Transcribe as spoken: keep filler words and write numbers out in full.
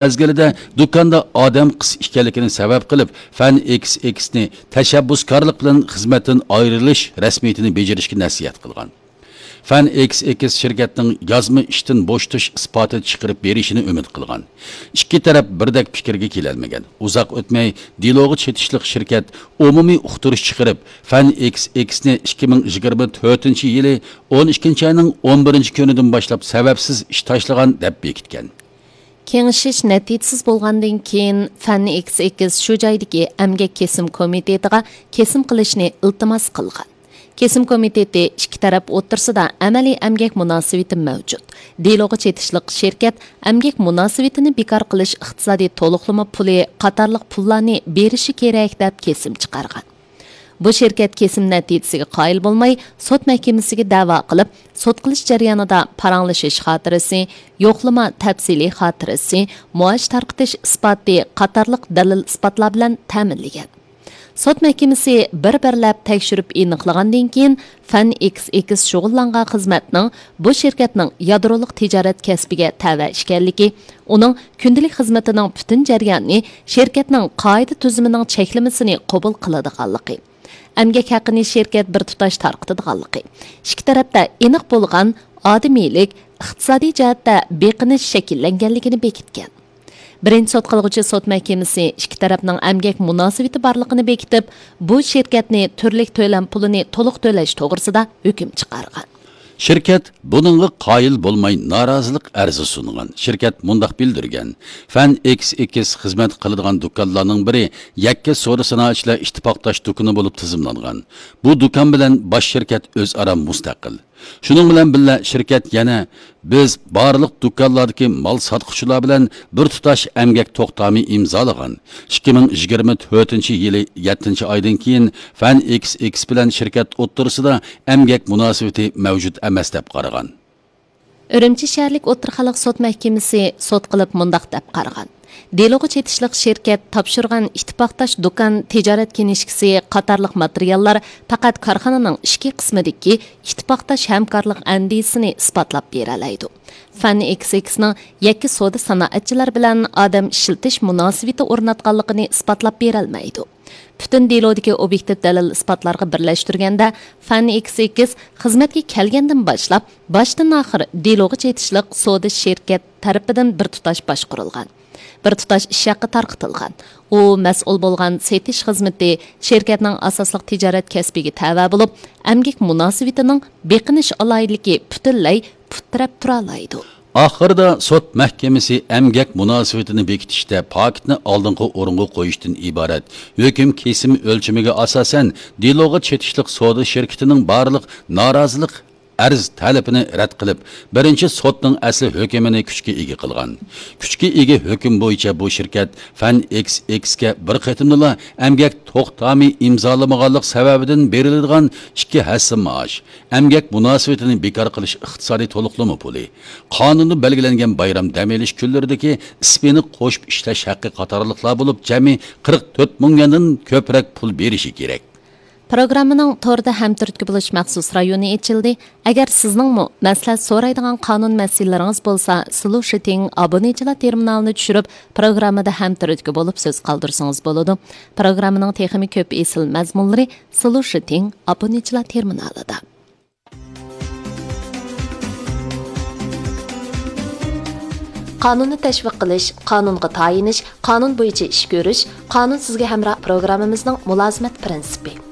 مەزگىلىدە دۇكاندا ئادەم قىس ئىكەنلىكىنى سەۋەب قىلىپ، فەن ئېكس ئېكسنى تەشەببۇسكارلىق بىلەن خىزمەتتىن ئايرىلىش رەسمىيىتىنى بېجىرىشكە نەسىھەت قىلغان. فەن ئېكس ئېكس شىركەتنىڭ يازما ئىشتىن بوشىتىش ئىسپاتى چىقىرىپ بېرىشىنى ئۈمىد قىلغان. ئىككى تەرەپ بىردەك پىكىرگە كېلەلمىگەن. ئۇزاق ئۆتمەي، دېلوغا چېتىشلىق شىركەت ئومۇمىي ئۇقتۇرۇش چىقىرىپ، فەن ئېكس ئېكسنى ئىككى مىڭ يىگىرمە تۆتىنچى يىلى ئون ئىككىنچى ئاينىڭ ئون بىرىنچى كۈنىدىن باشلاپ سەۋەبسىز ئىش تاشلىغان دەپ بېكىتكەن. كېڭىشىش نەتىجىسىز بولغاندىن كېيىن، فەن ئېكس ئېكس شۇ جايدىكى ئەمگەك كېسىم كومىتېتىغا كېسىم قىلىشنى ئىلتىماس قىلغان. كېسىم كومىتېتى ئىككى تەرەپ ئوتتۇرىسىدا ئەمەلىي ئەمگەك مۇناسىۋىتى مەۋجۇت. دېلوغا چېتىشلىق شىركەت ئەمگەك مۇناسىۋىتىنى بىكار قىلىش ئىقتىسادىي تولۇقلىما پۇلى قاتارلىق پۇللارنى بېرىشى كېرەك دەپ كېسىم چىقارغان. بۇ شىركەت كېسىم نەتىجىسىگە قايىل بولماي، سوت مەھكىمىسىگە دەۋا قىلىپ، سوت قىلىش جەريانىدا پاراڭلىشىش خاتىرىسى، يوقلىما تەپسىلىي خاتىرىسى، مائاش تارقىتىش ئىسپاتى قاتارلىق دەلىل-ئىسپاتلار بىلەن تەمىنلىگەن. سوت مەھكىمىسى بىر-بىرلەپ تەكشۈرۈپ ئېنىقلىغاندىن كېيىن، فەن ئېكس ئېكس شۇغۇللانغان خىزمەتنىڭ بۇ شىركەتنىڭ يادرولۇق تىجارەت كەسپىگە تەۋە ئىكەنلىكى، ئۇنىڭ كۈندىلىك خىزمىتىنىڭ پۈتۈن جەريانىنى شىركەتنىڭ قائىدە-تۈزۈمىنىڭ چەكلىمىسىنى قوبۇل قىلىدىغانلىقى، ئەمگەك ھەققىنى شىركەت بىر تۇتاش تارقىتىدىغانلىقى، ئىككى تەرەپتە ئېنىق بولغان ئادىمىيلىك، ئىقتىسادىي جەھەتتە بېقىنىش شەكىللەنگەنلىكىنى بېكىتكەن. بىرىنچى سوت قىلغۇچى سوت مەھكىمىسى ئىككى تەرەپنىڭ ئەمگەك مۇناسىۋىتى بارلىقىنى بېكىتىپ، بۇ شىركەتنى تۈرلۈك تۆلەم پۇلىنى تولۇق تۆلەش توغرىسىدا ھۆكۈم چىقارغان. شىركەت بۇنىڭغا قايىل بولماي، نارازىلىق ئەرزى سۇنغان. شىركەت مۇنداق بىلدۈرگەن: فەن ئېكس ئېكس خىزمەت قىلىدىغان دۇكانلارنىڭ بىرى يەككە سودا سانائەتچىلەر ئىتتىپاقداش دۇكىنى بولۇپ تىزىملانغان. بۇ دۇكان بىلەن باش شىركەت ئۆزئارا مۇستەقىل. شۇنىڭ بىلەن بىللە، شىركەت يەنە: «بىز بارلىق دۇكانلاردىكى مال ساتقۇچىلار بىلەن بىر تۇتاش ئەمگەك توختامى ئىمزالىغان. ئىككى مىڭ يىگىرمە تۆتىنچى يىلى يەتتىنچى ئايدىن كېيىن فەن ئېكس ئېكس بىلەن شىركەت ئوتتۇرىسىدا ئەمگەك مۇناسىۋىتى مەۋجۇت ئەمەس» دەپ قارىغان. ئۈرۈمچى شەھەرلىك ئوتتۇرا خەلق سوت مەھكىمىسى سوت قىلىپ مۇنداق دەپ قارىغان: دېلوغا چېتىشلىق شىركەت تاپشۇرغان ئىتتىپاقداش دۇكان تىجارەت كىنىشكىسى قاتارلىق ماتېرىياللار پەقەت كارخانىنىڭ ئىچكى قىسمىدىكى ئىتتىپاقداش ھەمكارلىق ئەندىزىسىنى ئىسپاتلاپ بېرەلەيدۇ. فەن ئېكس ئېكسنىڭ يەككە سودا سانائەتچىلەر بىلەن ئادەم ئىشلىتىش مۇناسىۋىتى ئورناتقانلىقىنى ئىسپاتلاپ بېرەلمەيدۇ. پۈتۈن دېلودىكى ئوبيېكتىپ دەلىل-ئىسپاتلارغا بىرلەشتۈرگەندە، فەن ئېكس ئېكس خىزمەتكە كەلگەندىن باشلاپ باشتىن-ئاخىر دېلوغا چېتىشلىق سودا شىركەت تەرىپىدىن بىر تۇتاش باشقۇرۇلغان، بىر تۇتاش ئىش ھەققى تارقىتىلغان. ئۇ مەسئۇل بولغان سېتىش خىزمىتى شىركەتنىڭ ئاساسلىق تىجارەت كەسپىگە تەۋە بولۇپ، ئەمگەك مۇناسىۋىتىنىڭ بېقىنىش ئالاھىدىلىكى پۈتۈنلەي پۇت تىرەپ تۇرالايدۇ. ئاخىرىدا سوت مەھكىمىسى ئەمگەك مۇناسىۋىتىنى بېكىتىشتە پاكىتنى ئالدىنقى ئورۇنغا قويۇشتىن ئىبارەت ھۆكۈم كېسىم ئۆلچىمىگە ئاساسەن، دېلوغا چېتىشلىق سودا شىركىتىنىڭ بارلىق نارازىلىق ئەرز تەلىپىنى رەت قىلىپ، بىرىنچى سوتنىڭ ئەسلى ھۆكمىنى كۈچكە ئىگە قىلغان. كۈچكە ئىگە ھۆكۈم بويىچە بۇ شىركەت فەن ئېكس ئېكسكە بىر قېتىمدىلا ئەمگەك توختامى ئىمزالىمىغانلىق سەۋەبىدىن بېرىلىدىغان ئىككى ھەسسە مائاش، ئەمگەك مۇناسىۋىتىنى بىكار قىلىش ئىقتىسادىي تولۇقلىما پۇلى، قانۇندا بەلگىلەنگەن بايرام دەم ئېلىش كۈنلىرىدىكى ئىسپىنى قوشۇپ ئىشلەش ھەققى قاتارلىقلار بولۇپ، جەمئىي قىرىق تۆت مىڭ يۈەندىن كۆپرەك پۇل بېرىشى كېرەك. پروگراممىنىڭ توردا ھەمتۈرتكە بولۇش مەخسۇس رايونى ئېچىلدى. ئەگەر سىزنىڭمۇ مەسلىھەت سورايدىغان قانۇن مەسىلىلىرىڭىز بولسا، سلۇشىتىڭ ئابۇنىچىلار تېرمىنالىنى چۈشۈرۈپ، پروگراممىدا ھەمتۈرتكە بولۇپ سۆز قالدۇرسىڭىز بولىدۇ. پروگراممىنىڭ تېخىمۇ كۆپ ئېسىل مەزمۇنلىرى سلۇشىتىڭ ئابۇنىچىلار تېرمىنالىدا. قانۇننى تەشۋىق قىلىش، قانۇنغا تايىنىش، قانۇن بويىچە ئىش كۆرۈش، قانۇن سىزگە ھەمراھ پروگراممىمىزنىڭ مۇلازىمەت پىرىنسىپى.